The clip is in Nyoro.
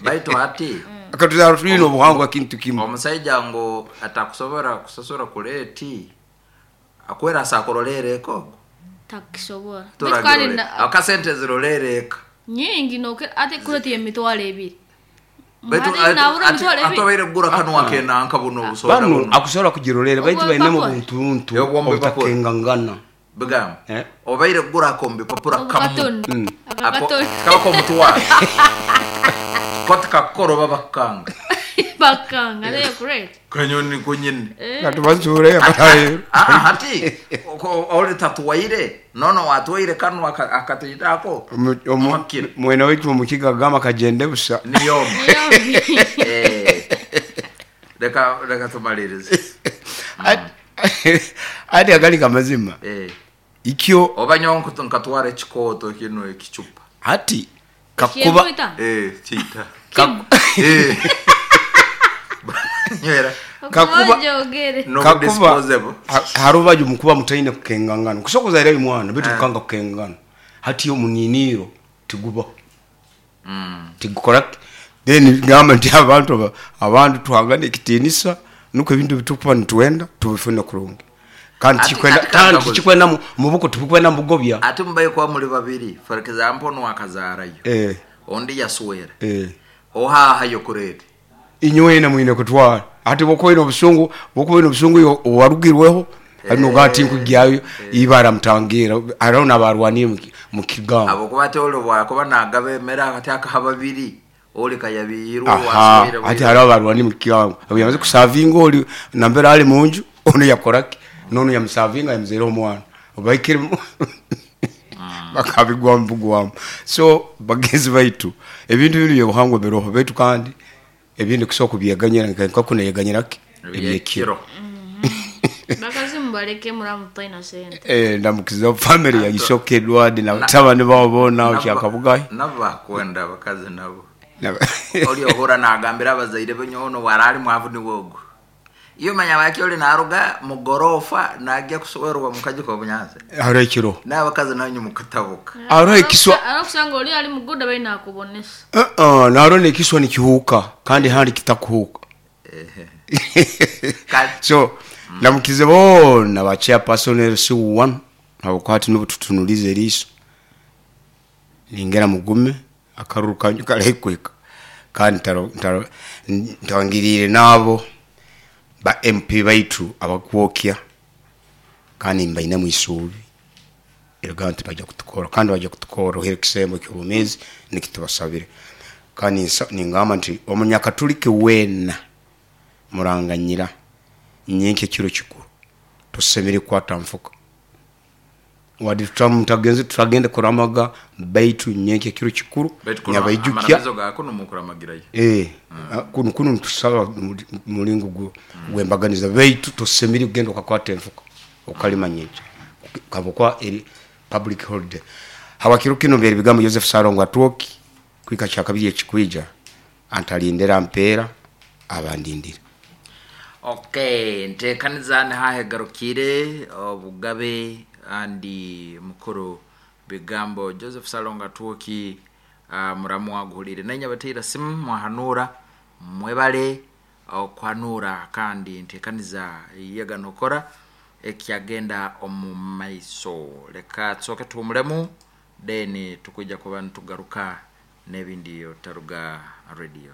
Baitu hati Akatuzarwa twine obuhangwa kintu kimu. Omusaija ngu atakusobora kusasura kureti akwera asa akurolera eka ogu. Takisobora. Baitu kandi Turagirore akasente zirolera eka. Nyingi nokira ate kureti y'emitwaro 2. Baitu Hati nabura emitwaro 2. Atobaire kugura kanwa kenanka buno obusoda Banu buno. akusobora kugirolera, baitu Obwo bainemu bupapura. obuntuntu Obwo bupapura. obutakengangana. Bigamba Eh? obaire kugura akombi papura kamu. Obukatoni. Ako Akakatoni. kaba komutwaro koti kakukora oba bakukanga. Bakanga nayo kureti. Kanyoni kunyine. Katubazuure abarayo. Ah, hati oli tatuwaire nono watwaire kanu akatitako Makira. Mwene waitu omukiga agamba kagende busa. Niyo. Yombi. Eh, reka tumalirize. Ati agali kamazima. Eh, Ikyo oba nyowe nkatwara ekikoto kino ekicupa. hati kakuba Kyemwita? Eh, kita. kaku- Eh, nywera. Kakuba- Jogere. No. Kakuba Disposable. Harubaju mukuba mutaine kukengangana kusokoza ira mwana bitu kukanga kukengangana hati omuniniro tigubaho. Tigukora then gamba nti abantu abantu tuhangane ekitinisa nuko ebintu bitukuba nitwenda tubifune kurungi kandi kikwenda Ati kandi kangabuzi. kikwenda mubuko tubikwenda mubugobya. Ati mubaye kuba muri babiri, for example, nwakazarayo ondi yaswera ohahayo kurete. Inywena mwine kutwara ati bokoine obusungu bokoine obusungu yo owarugirweho hari ati nkugyayo ibara mutangira hariho n'abarwaniye mu kigambo. Abo kuba ati oli bwakuba nagaba emere akati akaha babiri oli kayabiyirwe. Aha. Waswire. Ati hariho abarwaniye mu kigambo abo yamaze kusavinga oli nambere ali munju ono yakoraki nono yamusavinga yamuzereho omwana obaikire bakabigwamu bugwamu. So bagenzi baitu ebintu binu byobuhangwa biroho baitu kandi ebindi kusobola kubyeganyira nka kuneyeganyiraki ebyekiro. Bakazi mubaleke muramutaina sente. Eh, ndamukiza family ya Isoke Edward na batabani babo bona kyakabugayi. Nabo bakwenda abakazi nabo oli ohura nagambira abazaire benyono warali mwavu ni wogo iyo manya wake oli naruga mugorofa najya kuswerwa mukaji kwa bunyanza. Hariho ekiro. N'abakazi nanyu mukatabuka. Hariho ekiswa. Arakusanga oli ali muguda baina akubonesa. Uh-uh, naro nekiswa nikihuuka kandi handi kitakuhuuka. So ndamukize bona ba chairperson LC1 habwokuba nubu tutunulize eriiso ningera mugume akaruru kanyu karahikweka kandi ntangirire nabo ba MP baitu abakwokya kandi mbainemu isuubi erega nti bajja kutukora kandi bajja kutukora ohere ekisembo ky'obumezi nikitubasabire kandi ningamba nti omunyakatuliki weena muranganyira nyenke ekiro kikuru tusemere kukwata nfuka wadi tutagenze tutagende kuramaga baitu nyenke ekiro kikuru nyabaijukya. Amaramizo gako numukuramagirayo. Eh, kuno kuno nitusaba mulingo gwembaganiza baitu tosemere kugenda ukakwata enfuka ukalima nyenke kabokwa eri public holiday. Hawakiro kino byeri bigambo Joseph Sarongo atwoki kwika kya kabiri ekikwija antalindera mpera abandindira. Okay, ntekaniza nihahegarukire obugabe andi mukuru bigambo Joseph Salonga Twoki, muramu waguhulire nenya bateira simu mwahanura mwebale okwanura kandi ntekaniza yega nokora ekyagenda omu maiso. Leka tusoke tuhumulemu then tukuja kuba nitugaruka n'ebindi otaruga radio.